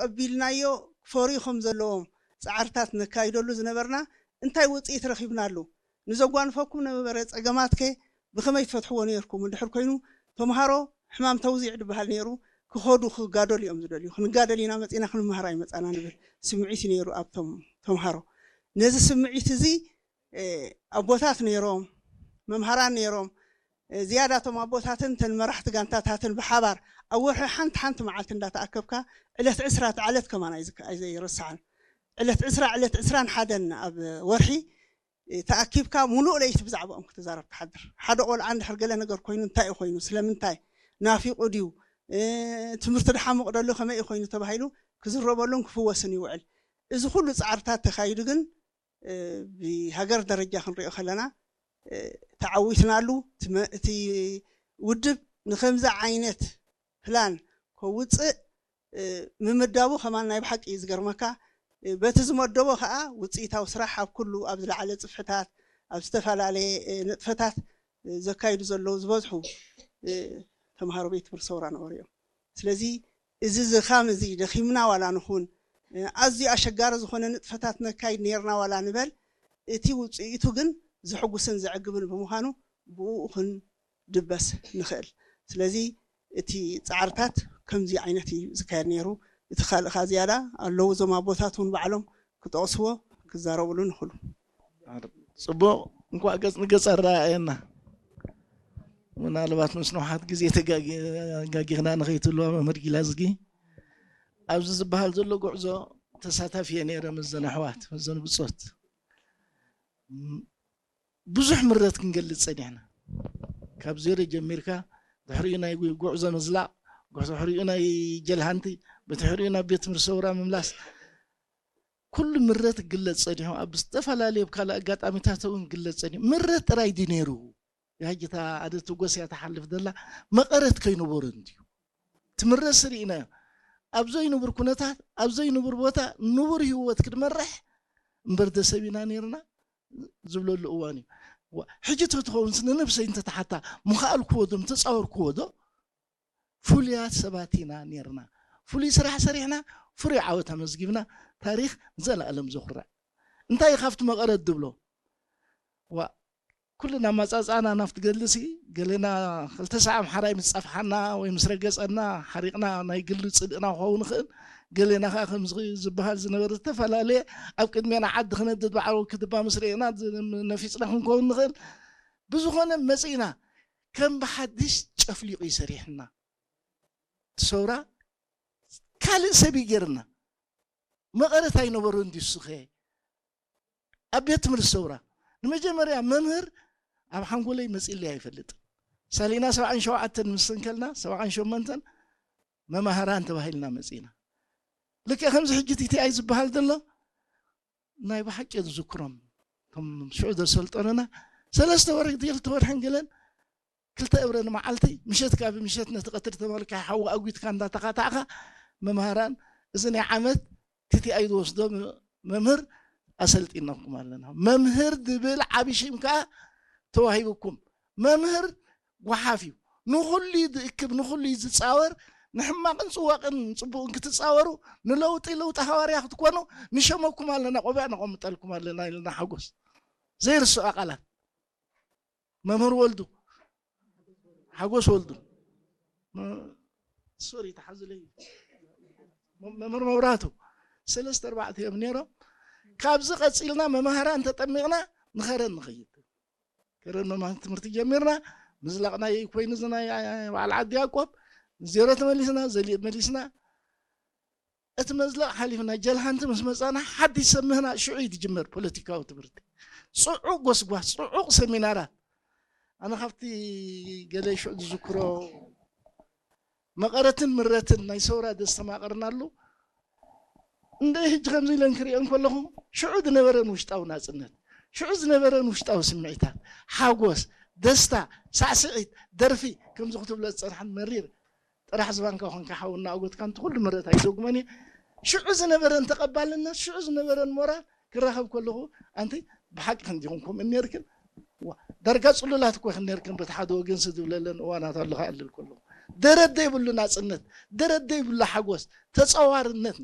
ኣቢልናዮ ክፈርዩ ከም ዘለዎም ፃዕርታት ነካይደሉ ዝነበርና እንታይ ውፅኢት ረኺብናሉ? ንዘጓንፈኩም ነበረ ፀገማትከ ብኸመይ ትፈትሕዎ ነይርኩም? እንድሕር ኮይኑ ተምሃሮ ሕማም ተውዚዕ ዝበሃል ነይሩ፣ ክኸዱ ክጋደሉ እዮም ዝደልዩ። ክንጋደል ኢና መፂና ክንመሃር ኣይመፃና ንብል ስምዒት እዩ ነይሩ ኣብቶም ተምሃሮ። ነዚ ስምዒት እዚ ኣቦታት ነይሮም፣ መምሃራን ነይሮም። ዝያዳ እቶም ኣቦታትን ተን መራሕቲ ጋንታታትን ብሓባር ኣብ ወርሒ ሓንቲ ሓንቲ መዓልቲ እንዳተኣከብካ ዕለት ዕስራ እቲ ዕለት ከማን ኣይዝክ- ኣይዘይረስዓን። ዕለት ዕስራ ዕለት ዕስራን ሓደን ኣብ ወርሒ ተኣኪብካ ሙሉእ ለይቲ ብዛዕባኦም ክትዛረብ ትሓድር። ሓደ ቆልዓ እንድሕር ገለ ነገር ኮይኑ እንታይ እዩ ኮይኑ፣ ስለምንታይ ናፊቑ ድዩ፣ ትምህርቲ ድሓሙቕ ደሎ ከመይ እዩ ኮይኑ ተባሂሉ ክዝረበሉን ክፍወስን ይውዕል። እዚ ኩሉ ፃዕርታት ተኻይዱ ግን ብሃገር ደረጃ ክንሪኦ ከለና ተዓዊትናሉ። እቲ ውድብ ንከምዚ ዓይነት ፕላን ከውፅእ ምምዳቡ ከማን ናይ ብሓቂ እዩ ዝገርመካ። በቲ ዝመደቦ ከዓ ውፅኢታዊ ስራሕ ኣብ ኩሉ ኣብ ዝለዓለ ፅፍሕታት ኣብ ዝተፈላለየ ንጥፈታት ዘካይዱ ዘለዉ ዝበዝሑ ተምሃሮ ቤት ትምህርቲ ሰውራ ነበሩ እዮም። ስለዚ እዚ ዝኻም እዚ ደኺምና ዋላ ንኹን ኣዝዩ ኣሸጋሪ ዝኾነ ንጥፈታት ነካይድ ነርና ዋላ ንበል፣ እቲ ውፅኢቱ ግን ዝሕጉስን ዘዕግብን ብምዃኑ ብኡ ክንድበስ ንኽእል። ስለዚ እቲ ፃዕርታት ከምዚ ዓይነት እዩ ዝካየድ ነይሩ። እቲ ካልእ ከኣ ዝያዳ ኣለዉ እዞም ኣቦታት እውን ባዕሎም ክጠቕስዎ ክዛረብሉ ንኽእሉ። ፅቡቕ፣ እንኳዕ ገፅ ንገፅ ኣረኣየና። ምናልባት ምስ ንውሓት ግዜ ተጋጊና ንኸይትልዋ መምህር ጊላዝጊ ኣብዚ ዝበሃል ዘሎ ጉዕዞ ተሳታፊ እየ ነይረ ምስዘን ኣሕዋት ምስዘን ብፆት ብዙሕ ምረት ክንገልፅ ፀኒሕና። ካብ ዜሮ ጀሚርካ ድሕሪኡ ናይ ጉዕዞ ምዝላቕ፣ ድሕሪኡ ናይ ጀልሃንቲ፣ ብድሕሪኡ ናብ ቤት ትምህርቲ ሰውራ ምምላስ፣ ኩሉ ምረት ክግለፅ ፀኒሑ፣ ኣብ ዝተፈላለዩ ኣብ ካልእ ኣጋጣሚታት እውን ክግለፅ ፀኒሑ። ምረት ጥራይ ድዩ ነይሩ? ያጅታ ኣደ ትጎስ እያ ትሓልፍ ዘላ መቐረት ከይነበሮ እንድዩ ትምረስ ርኢናዮ። ኣብ ዘይንቡር ኩነታት ኣብ ዘይንቡር ቦታ ንቡር ህይወት ክትመርሕ እምበር ደሰብ ኢና ነይርና ዝብለሉ እዋን እዩ። ሕጂ ተትኸውንስ ንነብሰይ እንተተሓታ ምኸኣልክዎ ዶ ምተፃወርክዎ ዶ? ፍሉያት ሰባት ኢና ነርና። ፍሉይ ስራሕ ሰሪሕና ፍሩይ ዓወት ኣመዝጊብና ታሪኽ ንዘለኣለም ዘኹርዕ። እንታይ እዩ ካብቲ መቐረት ድብሎ? ዋ ኩልና ኣመፃፅኣና ናብቲ ገድሊ ሲ ገለና ክልተ ሰዓ ኣምሓራይ ምስ ፀፍሓና ወይ ምስ ረገፀና ሓሪቕና ናይ ግሊ ፅልእና ክኸውን ይኽእል። ገሌና ከዓ ከምዚ ዝበሃል ዝነበረ ዝተፈላለየ ኣብ ቅድሜና ዓዲ ክነድድ በዓል ክትባ ምስ ርኤና ነፊፅና ክንከውን ንኽእል። ብዝኾነ መፂእና ከም ብሓድሽ ጨፍሊቑ እዩ ሰሪሕና። እቲ ሰውራ ካልእ ሰብ እዩ ገይርና። መቐረት ኣይነበሮን ድዩ እሱኸ? ኣብ ቤት ትምህርቲ ሰውራ ንመጀመርያ መምህር ኣብ ሓንጎለይ መፂለይ ኣይፈልጥን። ሳሊና ሰብዓን ሸውዓተን ምስ እንከልና ሰብዓን ሸሞንተን መማህራን ተባሂልና መፂና። ልክዕ ከምዚ ሕጂ ቲቲኣይ ዝበሃል ዘሎ ናይ ብሓቂ ዝዝክሮም እቶም ሽዑ ዘሰልጠኑና ሰለስተ ወርሒ ክልተ ወርሕን ገለን ክልተ እብረ ንመዓልቲ ምሸት ካብ ምሸት ነቲ ቀትሪ ተመልካ ሓዊ ኣጒትካ እንዳተኻታዕካ መምሃራን እዚ ናይ ዓመት ቲቲኣይ ዝወስዶ መምህር ኣሰልጢናኩም ኣለና። መምህር ዝብል ዓቢ ሽም ከዓ ተዋሂብኩም። መምህር ጓሓፍ እዩ። ንኹሉ እዩ ዝእክብ፣ ንኹሉ እዩ ዝፃወር። ንሕማቕን ፅዋቕን ፅቡቕን ክትፃወሩ፣ ንለውጢ ለውጢ ሃዋርያ ክትኮኑ ንሸመኩም ኣለና፣ ቆቢዕ ነቐምጠልኩም ኣለና ኢልና ሓጎስ ዘይርስዖ ቃላት። መምህር ወልዱ ሓጎስ ወልዱ ሶሪ ተሓዝለይ መምህር መብራቱ ሰለስተ ኣርባዕተ እዮም ነይሮም። ካብዚ ቀፂልና መማህራን ተጠሚቕና ንኸረን ንኸይድ ከረን መማህራን ትምህርቲ ጀሚርና። ምዝላቕ ናይ ኮይኑ ናይ በዓል ዓዲ ያዕቆብ ዜሮ ተመሊስና ዘሊእ መሊስና እቲ መዝለቕ ሓሊፍና ጀልሃንቲ ምስ መፃና ሓድሽ ሰብ ምህናፅ ሽዑ እዩ ዝጅመር ፖለቲካዊ ትምህርቲ። ፅዑቕ ጎስጓስ፣ ፅዑቕ ሰሚናራት። ኣነ ካብቲ ገለ ሽዑ ዝዝክሮ መቐረትን ምረትን ናይ ሰውራ ዘስተማቐርናሉ እንደ ሕጂ ከምዚ ኢለን ክሪኦ እንከለኹ ሽዑ ዝነበረን ውሽጣዊ ናፅነት፣ ሽዑ ዝነበረን ውሽጣዊ ስምዒታት፣ ሓጎስ፣ ደስታ፣ ሳዕስዒት፣ ደርፊ ከምዚ ክትብሎ ዝፀንሓን መሪር ጥራሕ ዝባንካ ኮንካ ሓው እናኣጎትካ እንተ ኩሉ ምረት ኣይዘጉመን እየ። ሽዑ ዝነበረን ተቐባልነት ሽዑ ዝነበረን ሞራል ክራኸብ ከለኹ ኣንቲ ብሓቂ ክንዲኹም ከምኡ ነርክን ዳርጋ ፅሉላት እኮ ክነርክን በቲ ሓደ ወገን ዝብለለን እዋናት ኣለኻ ኣለል ከለኹ ደረት ዘይብሉ ናፅነት ደረት ዘይብሉ ሓጎስ ተፀዋርነት